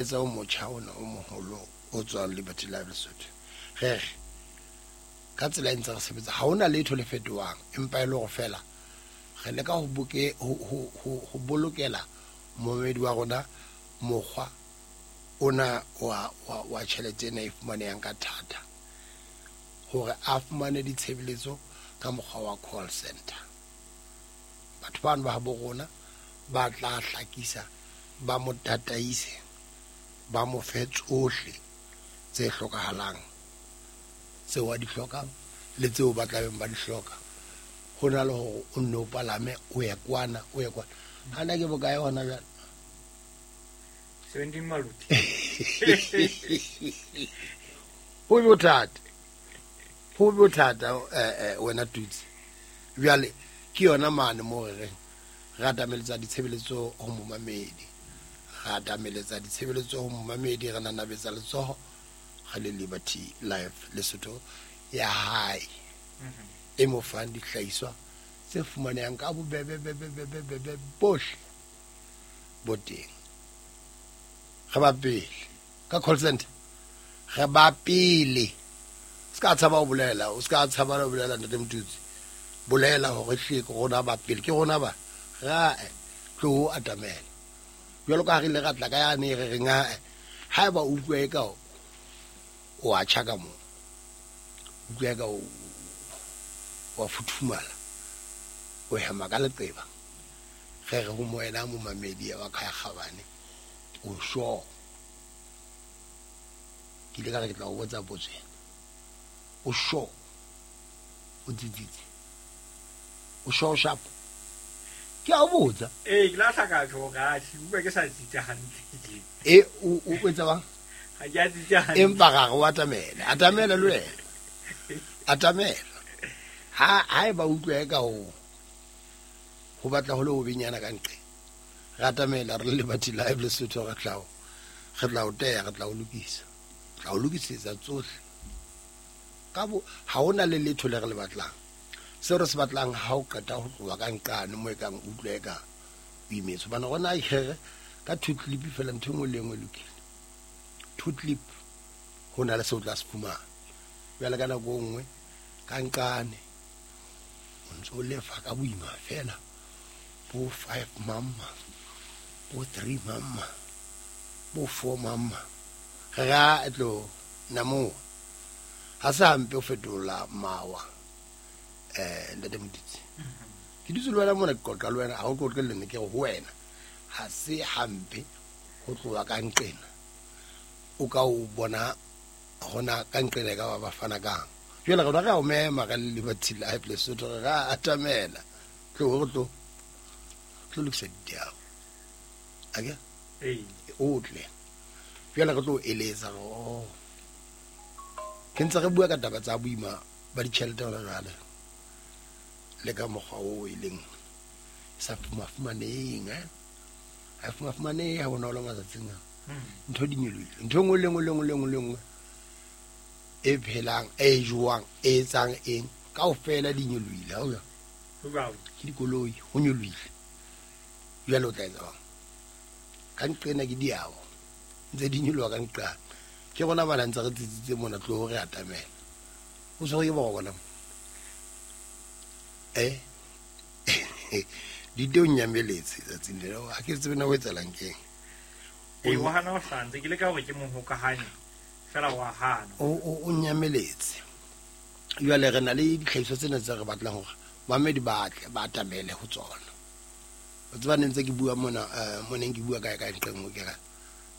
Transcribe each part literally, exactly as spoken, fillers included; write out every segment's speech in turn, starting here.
Etsa o motjha ona o moholo o tswang Liberty Live Lesotho. Re re ka tsela e ntse re sebetsa, ha hona letho le fetohang, empa e le hore feela re leka ho boke ho ho ho bolokela momedi wa rona mokgwa ona wa wa wa tjhelete ena e fumanehang ka thata, hore a fumane ditshebeletso ka mokgwa wa call center. Batho bano ba habo rona ba tla hlakisa, ba mo tataise, ba mo fe tsohle tse hlokahalang, tseo a di hlokang le tseo ba tlabeng ba di hloka. Ho na le hore o nne o palame o ye kwana, o ye kwana. Hana ke bokae hona jwale? seventeen maluti. Ho bothata. Ho bothata eh wena Tutsi. Jwale ke yona mane mo re reng re atameletsa ditshebeletso ho momamedi. Re atameletsa ditshebeletso ho momamedi, re nanabetsa letsoho re le Liberty Life Lesotho ya hae. E mo fang dihlahiswa tse fumanehang ka bobebe bebe bebe bebe bohle bo teng. Re ba pele ka call center, re ba pele. Se ka tshaba ho bolela, o se ka tshaba ho bolela ntate Motutsi. Bolela hore hle ke rona ba pele, ke rona ba ra tlo atamela. Jwalo ka ha re ile ra tla ka yane re reng ha haeba o utlwa eka o a tjha ka moo, utlwa eka o wa futhumala, o hema ka leqeba, re re ho moena momamedi wa Khaya Kgabane, o sure? Ke ile ka re ke tla o botsa potso ena. O sure? O tsitsitse? O sure sharp? Ke a o botsa. Ee, ke la hlaka tjho ka tjhe, utlwa ke sa tsitsa hantle. E, o o etsa bang? Ha ke a tsitsa hantle. Empa ra re o atamela, atamela le wena. Atamela. Ha haeba utlwa eka ho ho batla ho le ho benyana ka nqe, re atamela re le Liberty Live Lesotho, re tla o re tla o teya, re tla o lokisa, tla o lokisetsa tsohle. Ka bo ha hona le letho le re le batlang. Seo re se batlang ha o qeta ho tloha ka nqane mo e kang utlwa eka o imetswe. Hobane rona akere ka two clip feela ntho e nngwe le e nngwe e lokile. Two clip ho na le seo o tla se fumana. Jwale ka nako e nngwe ka nqane o ntso o lefa ka boima feela bo five mama, bo three mama, bo four mama. Re ra tlo namo. Ha se hampe ho fetola mawa. Eh ntate Motutsi. Ke dutse le wena mona ke qoqa le wena, ha o qoqe le nna ke re ho wena. Ha se hampe ho tloha ka nqena. O ka o bona hona ka nqena ka ba ba fana kang. Jwale rona re a o mema re le Liberty Live Lesotho, re ra atamela. Tlo re tlo tlo lokisa diabo. Ake? Ee. O tle. Jwale re tlo eletsa re oh. Ke ntse re bua ka taba tsa boima ba ditjhelete hona jwale. Le ka mokgwa oo e leng sa fumafumaneng, eh? Ha fumafumanehe ha bonolo matsatsing a. Ntho di nyolohile. Ntho e nngwe le nngwe le nngwe le nngwe le nngwe e phelang, e jewang, e etsang eng, kaofela di nyolohile, ha o jwang? Ho jwalo. Ke dikoloi, ho nyolohile. Jwale o tla etsa jwang? Ka nqena ke diabo, ntse di nyoloha ka nqane. Ke rona bana ntse re tsitsitse mona, tlo re atamela. O tshwerwe ke boroko na? Eh? Di teo nyameletse tsatsing lena, ha ke tsebe na ho etsahalang keng. Ee, o hana ho hlantse, ke leka hore ke mo hokahanye, fela wa hana. O, o, o nyameletse. Jwale re na le ditlhahiso tsena tse re batlang hore mamedi ba tle ba atamele ho tsona. O tseba ne ntse ke bua mona, eh, mo neng ke bua kae kae nqe nngwe ke re,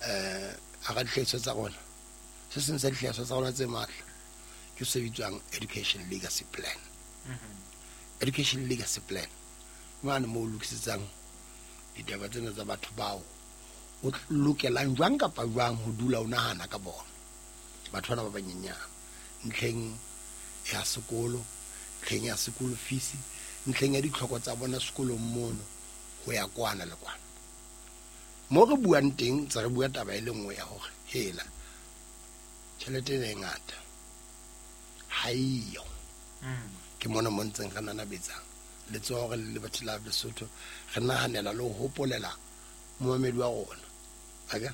eh, hara dihlahiswa tsa rona, se seng sa dihlahiswa tsa rona tse matla ke se bitswang Education Legacy Plan. Education Legacy Plan mane moo o lokisetsang ditaba tsena tsa batho bao o lokelang jwang kapa jwang ho dula o nahana ka bona. Batho bana ba banyenyane ntlheng ya sekolo, ntlheng ya sekolo fees, ntlheng ya ditlhoko tsa bona sekolong mono ho ya kwana le kwana. Mo re buang teng tse re bua taba e le nngwe ya hore hela tjhelete ena e ngata ha eyo. Ke mona mo ntseng re nanabetsang letsoho re le Liberty Live Lesotho, re nahanela le ho hopolela momamedi wa rona. Aka?